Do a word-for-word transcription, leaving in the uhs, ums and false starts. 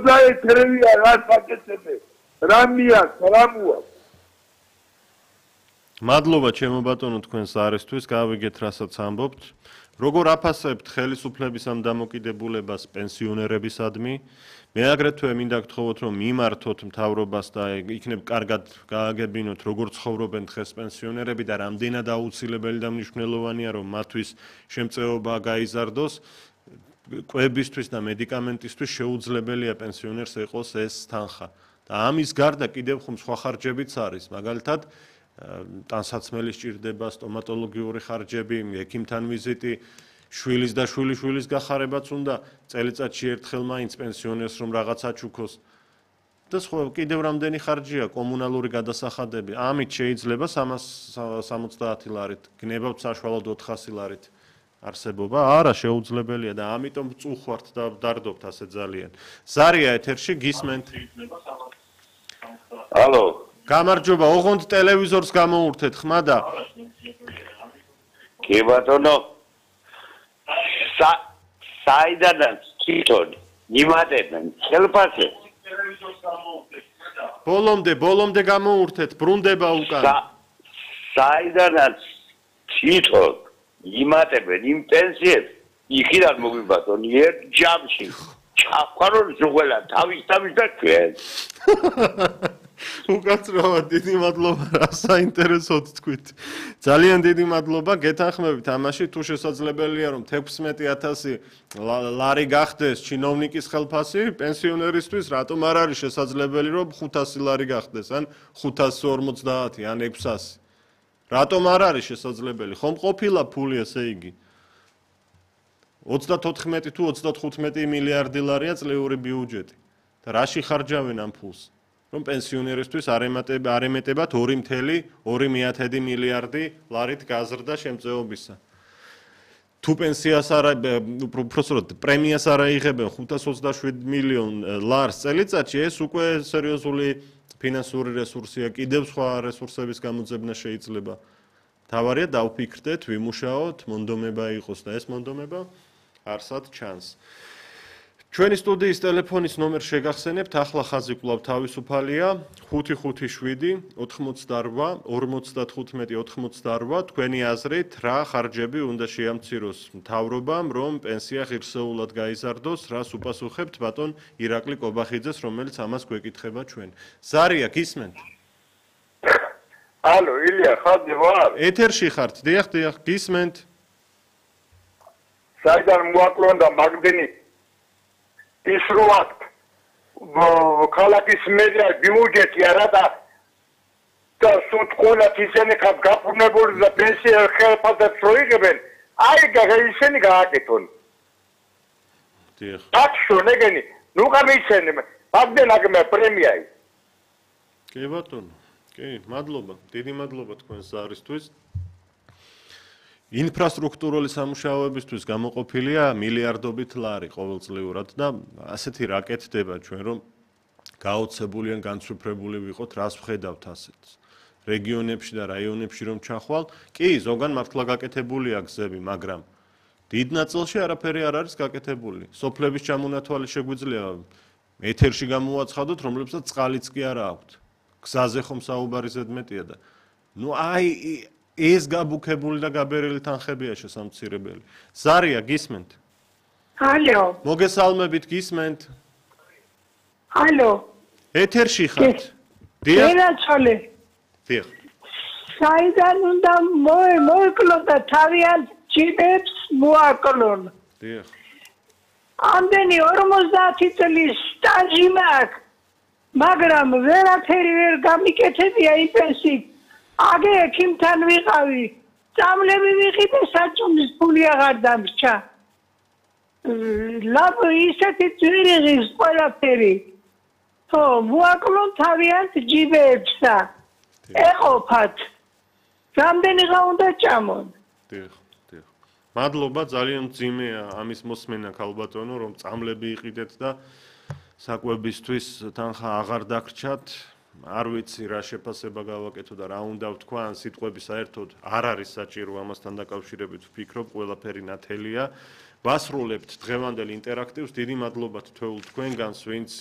ოცდაერთი რა საკეთებე. რამია, რამუა. მადლობა ჩემო ბატონო თქვენს არისთვის, გავიგეთ რასაც ამბობთ. როგორ აფასებთ ხელისუფლების ამ დამოკიდებულებას პენსიონერებისადმი? მე აგრეთვე მინდა გთხოვოთ, რომ მიმართოთ მთავრობას და იქნებ კარგად გააგებინოთ, როგორ ცხოვრობენ დღეს პენსიონერები და რამდენად აუცილებელი და მნიშვნელოვანია, რომ მათთვის შემწეობა გაიზარდოს. კვებისთვის და მედიკამენტისთვის შეუძლებელია პენსიონერს ეყოს ეს თანხა. და ამის გარდა კიდევ ხომ სხვა ხარჯებიც არის, მაგალითად ტანსაცმელი სჭირდება, სტომატოლოგიური ხარჯები, ექიმთან ვიზიტი, შვილის და შვილიშვილის გახარებაც უნდა წელიწადში ერთხელ მაინც პენსიონერს რომ რაღაცა ჩუქოს. და სხვა კიდევ რამდენი ხარჯია, კომუნალური გადასახადები. ამით შეიძლება სამას სამოცდაათი ლარით, გნებავთ საშუალოდ ოთხასი ლარით არსებობა. არა, შეუძლებელია და ამიტომ წუხვართ და დარდობთ ასე ძალიან. ზარია ეთერში გისმენთ. ალო. გამარჯობა, ოღონდ ტელევიზორს გამოურთეთ, ხმა და კი ბატონო. საიდანაც თვითონ იმატებენ ხელფასზე. ბოლომდე, ბოლომდე გამოურთეთ, ბრუნდება უკან. საიდანაც თვითონ იმატებენ იმ პენსიებს, იქიდან მოგვიბატონ ერთ ჯამში. ჩახვალონ ზუღელა თავის თავის და ჩვენ. უკაცრავად დიდი მადლობა რა საინტერესოდ თქვით. ძალიან დიდი მადლობა, გეთანხმებით ამაში, თუ შესაძლებელია რომ თექვსმეტი ათასი ლარი გახდეს ჩინოვნიკის ხელფასი, პენსიონერისთვის რატომ არ არის შესაძლებელი რომ ხუთასი ლარი გახდეს, ან ხუთასი ორმოცდაათი, ან ექვსასი. რატომ არ არის შესაძლებელი? ხომ ყოფილა ფული ესე იგი? ოცდათოთხმეტი თუ ოცდათხუთმეტი მილიარდი ლარია წლიური ბიუჯეტი. და რაში ხარჯავენ ამ ფულს? რომ პენსიონერისთვის არ ემატებათ ორი წუთი ორი მილიარდი ლარით გაზრდა შემწეობისა. თუ პენსიას არ უბრალოდ პრემიას არ აიღებენ ხუთას ოცდაშვიდ მილიონ ლარს წელიწადში, ეს უკვე სერიოზული ფინანსური რესურსია, კიდევ სხვა რესურსების გამოძებნა შეიძლება. თავარია დავფიქრდეთ, ვიმუშაოთ, მონდომება იყოს და ეს მონდომება არსად ჩანს. ჩვენი სტუდიის ტელეფონის ნომერ შეგახსენებთ, ახლა ხაზი კვლავ თავისუფალია, ხუთი ხუთი შვიდი ოცდაოთხმოცდაორვა ორმოცდათხუთმეტი ოცდაოთხმოცდაორვა, თქვენი აზრით, რა ხარჯები უნდა შეამციროს მთავრობამ, რომ პენსია ღირსეულად გაიზარდოს, რას უპასუხებთ ბატონ ირაკლი კობახიძეს, რომელიც ამას გვეკითხება ჩვენ. ზარია, გისმენთ? ალო, ილია, ხაზი ვარ? ეთერში ხართ, დიახ, დიახ, გისმენთ? საიდან მოაკლონდა მაგდენი ის რო აქ ქალაქის მერია ბიუჯეტი არა და და სუთქონათ ისინი გაფორმებული და პენსია ხელფასებს რო იღებენ, აი ისინი გააკეთონ. დიახ. აკშო ნეგენი, ნუ გამიცენი, მაგდენ აგმე პრემიაი. კი ბატონო, კი, მადლობა, დიდი მადლობა თქვენს ზარისთვის. ინფრასტრუქტურული სამუშაოებისთვის გამოყოფილია მილიარდობით ლარი ყოველწლიურად და ასეთი რა კეთდება ჩვენ რომ გაოცებული ან განცვიფრებული ვიყოთ, რას ვხედავთ ასეთს. რეგიონებში და რაიონებში რომ ჩახვალ, კი, ზოგან მართლა გაკეთებულია გზები, მაგრამ დიდ ნაწილში არაფერი არ არის გაკეთებული. სოფლების ჩამონათვალი შეგვიძლია ეთერში გამოვაცხადოთ, რომლებსაც წყალიც კი არ აქვთ. გზაზე ხომ საუბარი ზედმეტია და ნუ აი ეს გაბუქებული და გაბერილი თანხებია შესამცირებელი. ზარია, გისმენთ? ალო. მოგესალმებით, გისმენთ? ალო. ეთერში ხართ? დიახ. ერაჩოლე. დიახ. საიდან უნდა მოეკლონ და თავიანთ ჯიბებს მოაკლონ. დიახ. ამდენი ორმოცდაათი წლის სტაჟი მაქვს, მაგრამ ვერაფერი ვერ გამიკეთებია იმ პენსიით. აგე ექიმთან ვიყავი, წამლები ვიყიდე, საჭმლის ფული აღარ დამრჩა. ლაბ ისეთი ძვირიღის ყველაფერი. ხო, მოაკლონ თავიანთ ჯიბებსა. ეყოფათ. რამდენიღა უნდა ჭამონ. დიახ, დიახ. მადლობა, ძალიან მძიმეა ამის მოსმენა ქალბატონო, რომ წამლები იყიდეთ და საკვებისთვის თანხა აღარ დაგრჩათ. არ ვიცი რა შეფასება გავაკეთო და რა უნდა ვთქვა, ან სიტყვები საერთოდ არ არის საჭირო ამასთან დაკავშირებით ვფიქრობ, ყველაფერი ნათელია. ვასრულებთ დღევანდელ ინტერაქტივს, დიდი მადლობა თითოეულ თქვენგანს, ვინც